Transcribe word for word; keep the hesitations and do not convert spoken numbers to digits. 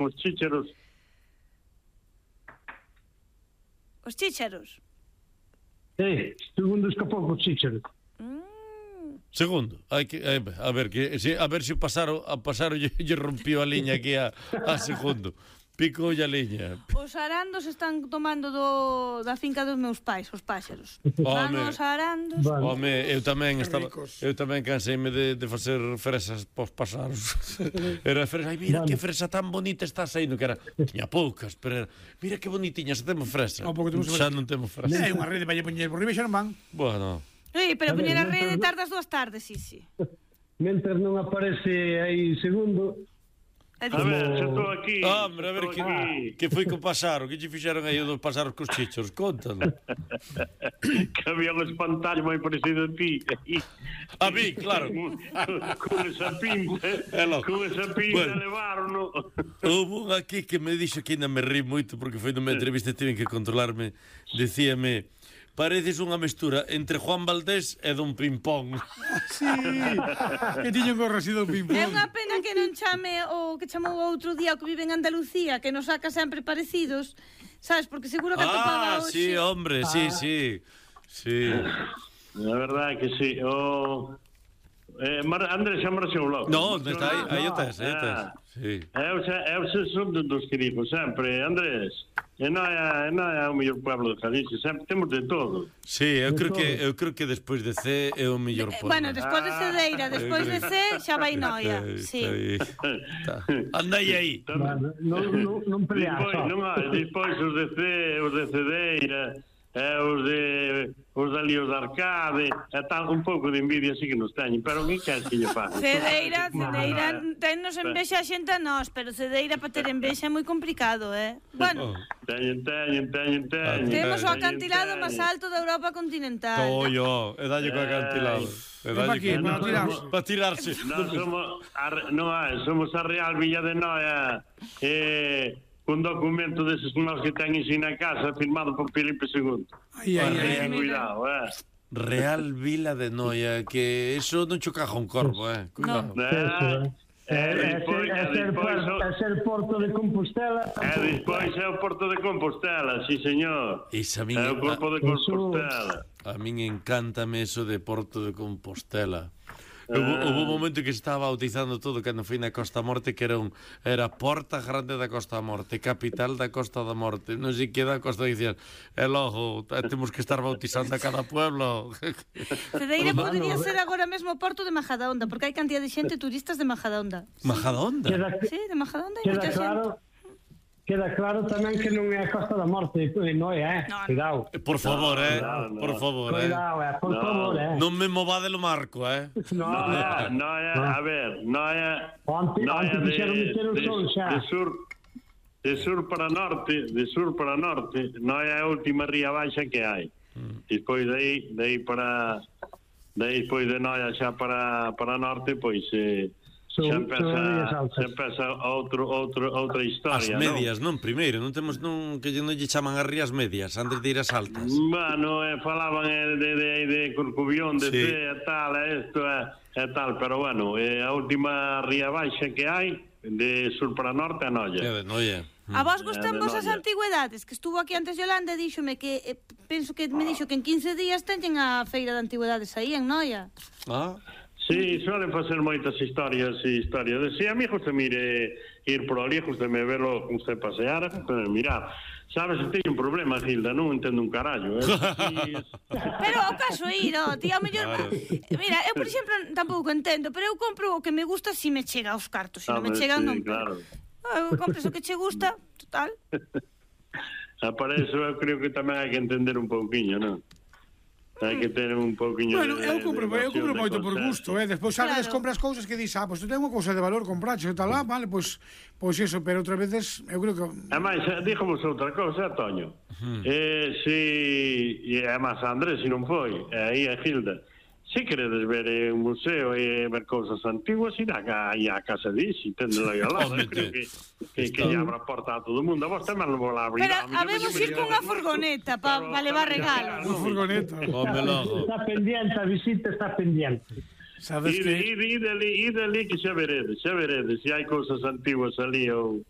os chícharos. Os chícharos? Sí, segundo escapou cos chícharos. Mm. Segundo, hai que eh, a ver que se a ver se pasaro a pasaro lle, lle rompiu a liña aquí a, a segundo. Pico a liña. Os arandos están tomando do, da finca dos meus pais, os páxaros. Van os arandos. Vale. Home, eu tamén estaba eu tamén canseime de, de facer fresas pos pasaros. Era fresa, ai mira vale. Que fresa tan bonita está saindo, que era tiña poucas, pero era, mira que bonitiña, se temos fresa. Oh, xa non temos fresa. É unha rede para lle poñer por riba xa non van. Bueno. Sí, pero poñer a rede tardas dúas tardes, sí, sí. Mentre non aparece aí segundo. A ver, xa estou aquí. Hombre, a ver que, que foi co pasaro, que lle fixeron aí dos pasaros cos chichos, contalo. Que había un espantallo moi parecido a ti. A mí, claro. Con esa pinta, con esa pinta bueno, levaron. Houve un aquí que me dixo que ainda me rí moito porque foi nunha entrevista e tiven que controlarme. Decíame, pareces unha mestura entre Juan Valdés e Don Pimpón. Sí, que tiño gorro así Don Pimpón. É unha pena que non chame o que chamou outro día o que vive en Andalucía, que nos saca sempre parecidos, sabes, porque seguro que atopaba hoxe. Ah, hoxe. sí, hombre, ah. sí, sí. Sí. La verdade que sí. O eh, Mar... Andrés xa marchou logo. No, está aí, aí o tes, aí o tes. Sí. Eu xa, eu xa son dos que digo sempre, Andrés, e non é, non é o mellor pueblo de Galicia, sempre temos de todo. Sí, eu creo que eu creo que despois de C é o mellor pueblo. Bueno, despois de Cedeira, despois de C xa vai Noia. Sí. Andai aí. Non non non pelear. Despois, non hai, despois os de C, os de Cedeira, eh, os de os de Líos de Arcade, e tal, un pouco de envidia sí que nos teñen, pero que queres que lle faga? Cedeira, Cedeira, tennos envexa a xente a nós, pero Cedeira para ter envexa é moi complicado, eh? Bueno, teñen, teñen, teñen, teñen. Temos o acantilado máis alto da Europa continental. Toyo, e dalle co acantilado. E dalle aquí, para tirarse. Para tirarse. Non somos a, non hai, somos a Real Villa de Noia. Eh, un documento deses nós que teñen sin na casa firmado por Filipe segundo. Ai, ai, ai, cuidado, eh. Real Vila de Noia, que eso non cho caja un corvo, eh. Cuidado. No. É ser Porto de Compostela. E despois é o Porto de Compostela, sí, señor. Esa min, é o Porto de Compostela. A min encántame eso de Porto de Compostela. Houve, houve un momento que se estaba bautizando todo cando foi na Costa Morte, que era un era Porta Grande da Costa Morte, capital da Costa da Morte, non sei que da Costa, dicían, e logo temos que estar bautizando a cada pueblo. Cedeira podería ser agora mesmo Porto de Majadahonda, porque hai cantidad de xente turistas de Majadahonda. Majadahonda? Sí, de Majadahonda hai moita xente. Queda claro tamén que non é a Costa da Morte, non é, eh? Cuidado. Por favor, eh? Por favor, eh? Cuidado, eh? Por favor, eh? Non me movade lo marco, eh? No, no, a ver, no é... Antes fixeron meter o sol xa. De sur... De sur para norte, de sur para norte, non é a última ría baixa que hai. Despois de aí, de aí para... De aí, despois de Noia xa para, para norte, pois... Eh, xa empeza, xa empeza outro, outro, outra historia. As medias, non? non? Primeiro, non temos non que non lle chaman as rías medias antes de ir as altas. Bueno, eh, falaban eh, de, de, de Corcubión, de sí. C, e tal, e isto e eh, tal, pero bueno, eh, a última ría baixa que hai de sur para norte a Noia. É de Noia. A vos gustan vos as antigüedades? Que estuvo aquí antes Yolanda e díxome que eh, penso que me dixo que en quince días teñen a feira de antigüedades aí en Noia. Ah. Sí, suelen facer moitas historias e historias. Si, a mí gusta mire ir por ali, gusta me verlo con usted pasear, mirar. Sabes, teño un problema, Gilda, non entendo un carallo, eh? Sí, es... Pero o caso ir, oh, tía, o mellor... Claro. Mira, eu, por exemplo, tampouco entendo, pero eu compro o que me gusta si me chega aos cartos, se non me chega, sí, non... Claro. Eu compro o que che gusta, total. Para eso eu creo que tamén hai que entender un pouquiño, non? Hai que ter un pouquiño bueno, de... eu compro, eu compro moito por gusto, eh? Despois sabes, claro. Compras cousas que dis, ah, pois pues, tu ten unha cousa de valor, compraxe, tal lá, vale, pois pues, pois pues eso, pero outras veces, eu creo que... Ademais, díxomos outra cousa, Toño. Uh-huh. Eh, si... E además, Andrés, se non foi, aí a Gilda, se queredes ver eh, un museo e ver cousas antiguas, irá aí a casa de Isi, tendelo aí ao lado. Creo que, que, que lle abra a porta a todo o mundo. A vos tamén non vou lá abrir. Pero habemos ir con unha furgoneta para pa levar regalos. Unha furgoneta. Está pendiente, a visita está pendiente. Sabes que... Ide ali, ide ali que xa veredes, xa veredes. Se hai cousas antiguas ali ou...